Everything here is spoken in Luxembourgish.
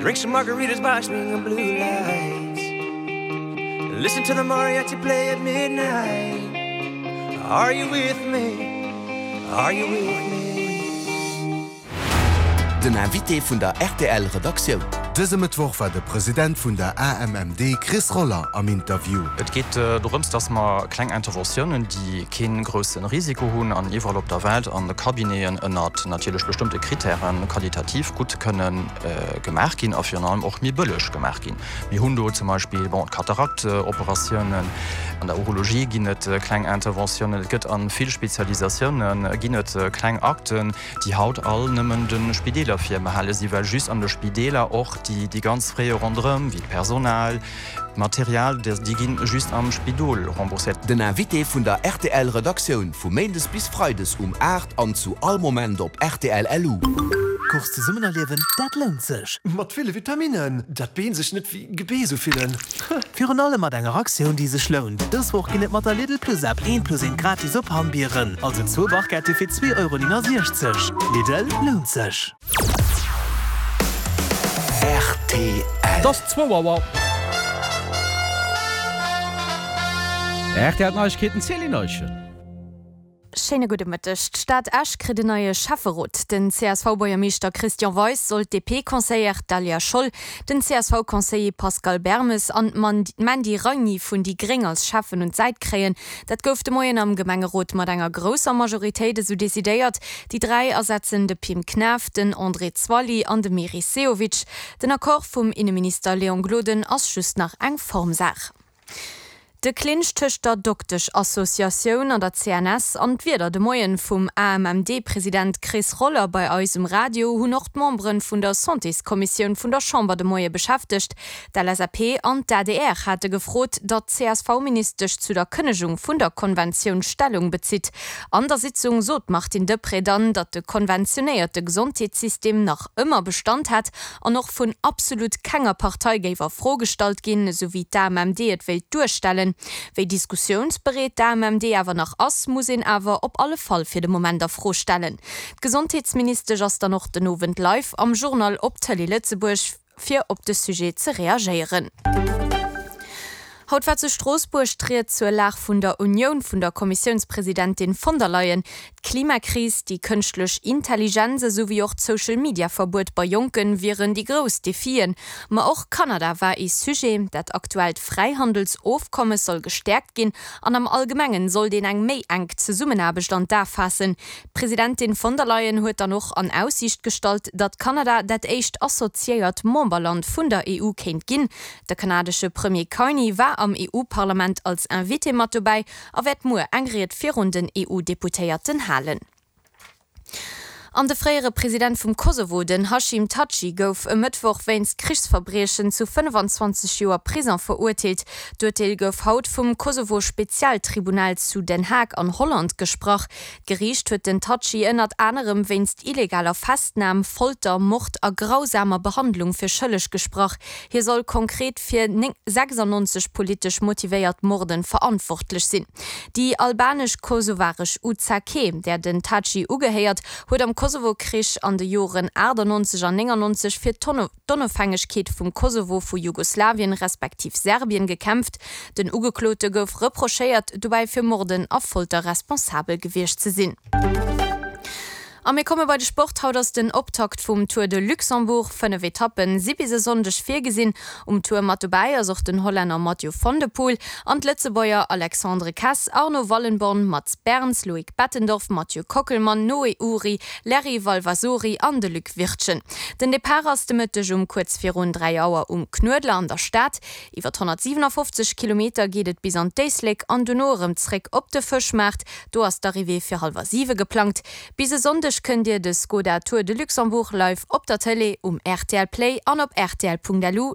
Drink some margaritas by swinging blue lights. Listen to the mariachi play at midnight. Are you with me? Are you with me? Den Invité vun der rtl Redaktioun. Dëse Mëttwoch war de President vun der AMMD Chris Roller am Interview. Et geet dorëms, dass mer kleng Interventiounen, déi kee grousse Risiko hunn an iwwerall op der Welt an de Cabineten ënnert natierlech bestëmmte Krittären qualitativ gutt kënne gemaach ginn a virun allem och méi bëlleg gemaach ginn. Mir hunn do zum Beispill, bon, d'Kataraktoperatiounen, an der Urologie ginn et kleng Interventiounen, et gëtt a vill Spezialisatioune ginn et kleng Akten, déi haut all nëmmen de Spideeler virbehale sinn, well just an de Spideeler och déi ganz Frais ronderëm, wéi d'Personal, d'Material, déi ginn just am Spidol rembourséiert. Den Invité vun der rtl Redaktioun vu Méindes bis Freides um 8 an zu all Moment op rtl LU. Course zesummen erliewen, dat lount sech! Mat ville Vitaminnen, dat d'Been sech net wéi Gebeess ufillen. Virun allem mat enger Aktioun, déi sech lount. Dës Woch ginn et mat der Lidl Plus App eent plus eent gratis op Hammbieren, also zwou Barquette fir 2,69 Euro. Lidl, lount sech! Rtl. Et ass zwou Auer. RTL Neiegkeeten, Céline Eischen. Schéine gudde Mëtteg. D'Stad Esch kritt en neie Schäfferot. Den CSV-Buergermeeschter Christian Weis soll d'DP-Conseillère Daliah Scholl, den CSV-Conseiller Pascal Bermes an d'Mandy Ragni vun déi Gréng als Schäffen un d'Säit kréien. Dat gouf de Moien am Gemengerot mat enger grousser Majoritéit esou decidéiert. Déi 3 ersetzen de Pim Knaff, den André Zwally an de Meris Sehovic. Den Accord vum Inneminister Léon Gloden ass just nach eng Formsaach. De Clinch tëscht der Dokteschassociatioun an der CNS an d'Wierder de Moien vum AMMD-President Chris Roller bei eis um Radio hunn och d'Memberen vun der Santéskommissioun vun der Chamber de Moie beschäftegt. D'LSAP an d'ADR hate gefrot, datt d'CSV-Ministesch zu der Kënnegung vun der Konventioun Stellung bezitt. An der Sitzung sot d'Martine Deprez dann, datt de konventionéierte Gesondheetssystem nach ëmmer Bestand hätt an och vun absolut kenger Partei géif a Fro gestallt ginn, esou wéi d'AMMD et wéilt duerstellen. Wéi diskussiounsbereet d'AMMD awer nach ass, muss een awer op alle Fall fir de Moment a Fro stellen. D'Gesondheetsministesch ass dann och den Owend live am Journal op Tëlee Lëtzebuerg, fir op de Sujet ze reagéieren. Haut war zu Stroossbuerg d'Ried zur Lag vun der Unioun vun der Kommissiounspresidentin von der Leyen. D'Klimakris, déi kënschtlech Intelligenz esou wéi och d'Social-Media-Verbuet bei Jonken wieren déi grouss Defien. Ma och Kanada war ee Sujet. Dat aktuellt Fräihandelsofkommes soll gestäerkt ginn an am Allgemengen sollt een eng méi enk Zesummenaarbecht an d'A faassen. D'Presidentin von der Leyen huet dann och an Aussiicht gestallt, datt Kanada dat éischt assoziéiert Memberland vun der EU kéint ginn. De kanadesche Premier Carney war am EU-Parlament als Invité mat dobäi a wäert muer eng Ried virun den EU-Deputéierten halen. An de fréiere President vum Kosovo, den Hashim Thaçi, gouf e Mëttwoch wéinst Krichsverbriechen zu 25 Joer Prison verurteelt. D'Urteel gouf haut vum Kosovo-Spezialtribunal zu Den Haag an Holland gesprach. D'Geriicht huet den Thaçi ënnert anerem wéinst illegaler Festnam, Folter, Mord a grausamer Behandlung fir schëlleg gesprach. Hie soll konkret fir 96 politesch motivéiert Morden verantwortlech sinn. Déi albanesch-kosovaresch UCK, där den Thaçi ugehéiert, huet am Kosovo-Krich an de Joren 98 an 99 fir d'Onofhängegkeet vum Kosovo vu Jugoslawien respektiv Serbien gekämpft. Den Ugeklote gouf reprochéiert, dobäi fir Morden a Folter responsabel gewiescht ze sinn. A mir komme bei de Sport. Haut ass den Optakt vum Tour de Luxembourg. 5 Etappen si bis e Sonndeg virgesinn. Um Tour mat dobäi ass och den Hollänner Mathieu van der Poel an d'Lëtzebuerger Alexandre Kess, Arno Wallenborn, Mats Berns, Loïc Bettendorf, Mathieu Kockelmann, Noé Ury, Larry Valvasori an de Luc Wirtgen. Den Depart ass de Mëtteg um kuerz virun 3 Auer um Knuedler an der Stad. Iwwer 157 Kilometer geet et bis an d'Éislek an dono erëm zréck op de Fëschmaart. Do ass d'Arrivée fir hallwer 7 geplangt. Bis e Sonndeg kënnt Dir de Skoda Tour de Luxembourg live op der Tëlee, um rtl Play an op rtl.lu.